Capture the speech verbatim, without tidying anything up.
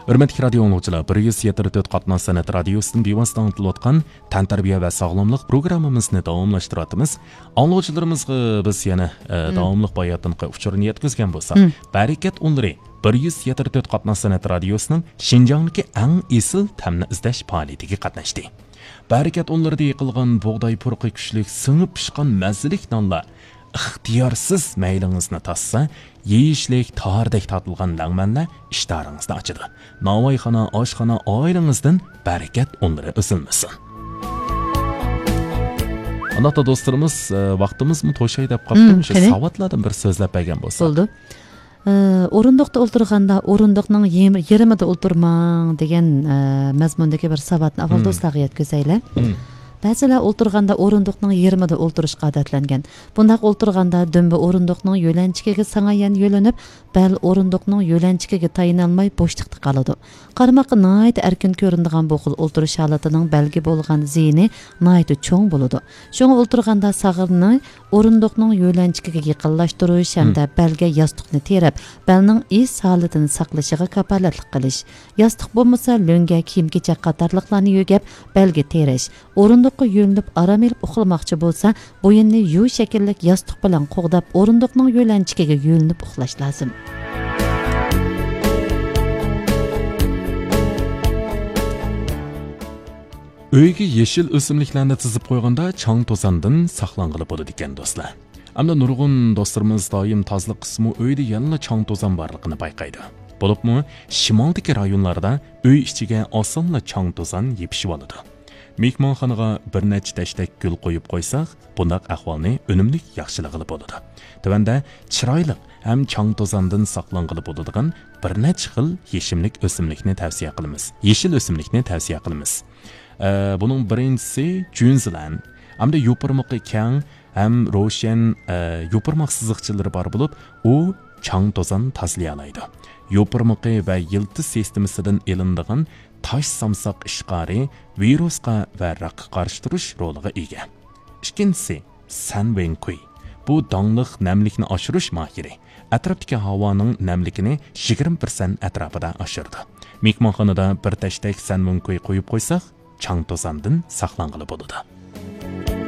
ھۆرمەتلىك رادىيو ئاڭلىغۇچىلار، بىر يۈز يەتتە تۆت قاتناش سەنئەت رادىيوسىدىن بىۋاسىتە ئاڭلىتىلىۋاتقان تەنتەربىيە ۋە ساغلاملىق پروگراممىمىزنى داۋاملاشتۇرۇۋاتىمىز. ئاڭلىغۇچىلىرىمىزغا بىز يەنە، ئە، داۋاملىق باياتىنقى ئۇچۇرنى يەتكۈزگەن بولساق، بەرىكەت ئۇنلىرى بىر يۈز يەتتە تۆت قاتناش سەنئەت رادىيوسىنىڭ شىنجاڭدىكى ئەڭ ئېسىل تەمنى ئىزدەش پائالىيىتىگە قاتناشتى. بەرىكەت ئۇنلىرىدا يېقىلغان بۇغداي پۇرىقى كۈچلۈك سىڭىپ پىشقان مەززىلىك نانلار ئىختىيارسىز مەيلىڭىزنى تاسسا، يېيىشلىك تاردەك تارتىلغان لەڭمەنلەر ئىشتىھارىڭىزنى ئاچىدۇ. ناۋايخانا، ئاشخانا ئائىلىڭىزدىن بەرىكەت ئۇنلىرى ئۈزۈلمىسۇن. ئانداقتا دوستلىرىمىز، ئە، ۋاقتىمىزمۇ توشاي دەپ قاپتۇ. مم، مۇشۇ قېنى. ساۋاتلاردىن بىر سۆزلەپ بەرگەن بولساق. بولدى. ئە، ئورۇندۇقتا ئولتۇرغاندا ئورۇندۇقنىڭ يېم-، يېرىمىدا ئولتۇرماڭ دېگەن، ئە، مەزمۇندىكى بىر ساۋاتنى ئاۋۋال مم. دوستلارغا يەتكۈزەيلى. مم. بەزىلەر ئولتۇرغاندا ئورۇندۇقنىڭ يېرىمىدا ئولتۇرۇشقا ئادەتلەنگەن. بۇنداق ئولتۇرغاندا دۈمبە ئورۇندۇقنىڭ يۆلەنچۈكىگە ساڭاييان يۆلىنىپ، بەل ئورۇندۇقنىڭ يۆلەنچۈكىگە تايىنالماي بوشلۇقتا قالىدۇ. قارىماققا ناھايىتى ئەركىن كۆرۈنىدىغان بۇ خىل ئولتۇرۇش ھالىتىنىڭ بەلگە بولغان زىيىنى ناھايىتى چوڭ بولىدۇ. شۇڭا ئولتۇرغاندا ساغرىنى ئورۇندۇقنىڭ يۆلەنچۈكىگە يېقىنلاشتۇرۇش ھەمدە بەلگە ياستۇقنى تېرەپ، بەلنىڭ ئىس ھالىتىنى ساقلىشىغا كاپالەتلىك قىلىش. ياستۇق بولمىسا، لۆڭگە، كىيىم-كېچەك قاتارلىقلارنى يۆگەپ، بەلگە تېرەش. ئورۇندۇققا يۆلىنىپ ئارام ئېلىپ ئۇخلىماقچى بولسا، بويۇننى يۇ شەكىللىك ياستۇق بىلەن قوغداپ، ئورۇندۇقنىڭ يۆلەنچۈكىگە يۆلىنىپ ئۇخلاش لازىم. ئۆيگە يېشىل ئۆسۈملۈكلەرنى تىزىپ قويغاندا چاڭ-توزاندىن ساقلانغىلى بولىدىكەن، دوستلار. ئەمدى نۇرغۇن دوستلىرىمىز دائىم تازىلىق قىلسىمۇ ئۆيدە يەنىلا چاڭ-توزان بارلىقىنى بايقايدۇ. بولۇپمۇ شىمالدىكى رايونلاردا ئۆي ئىچىگە ئاسانلا چاڭ-توزان يېپىشىۋالىدۇ. مېھمانخانىغا بىر نەچچە تەشتەك گۈل قويۇپ قويساق، بۇنداق ئەھۋالنى ئۈنۈملۈك ياخشىلىغىلى بولىدۇ. تۆۋەندە چىرايلىق ھەم چاڭ-توزاندىن ساقلانغىلى بولىدىغان بىر نەچچە خىل يېشىملىك ئۆسۈملۈكنى تەۋسىيە قىلىمىز. يېشىل ئۆسۈملۈكنى تەۋسىيە قىلىمىز. ئە، بۇنىڭ بىرىنچىسى جۈنزىلەن. ئەمدى يوپۇرمىقى كەڭ ھەم روشەن، ئە، يوپۇرماق سىزىقچىلىرى بار بولۇپ، ئۇ چاڭ-توزان تازىلىيالايدۇ. يوپۇرمىقى ۋە يىلتىز سىستېمىسىدىن ئېلىنىدىغان تاش سامساق ئىشقارى ۋىرۇسقا ۋە راكقا قارشى تۇرۇش رولىغا ئىگە. ئىككىنچىسى، سەن ۋېنكۇي. بۇ داڭلىق نەملىكنى ئاشۇرۇش ماھىرى. ئەتراپتىكى ھاۋانىڭ نەملىكىنى يىگىرمە پىرسەنت ئەتراپىدا ئاشۇرىدۇ. مېھمانخانىدا بىر تەشتەك سەن ۋېنكۇي قويۇپ قويساق، چاڭ-توزاندىن ساقلانغىلى بولىدۇ.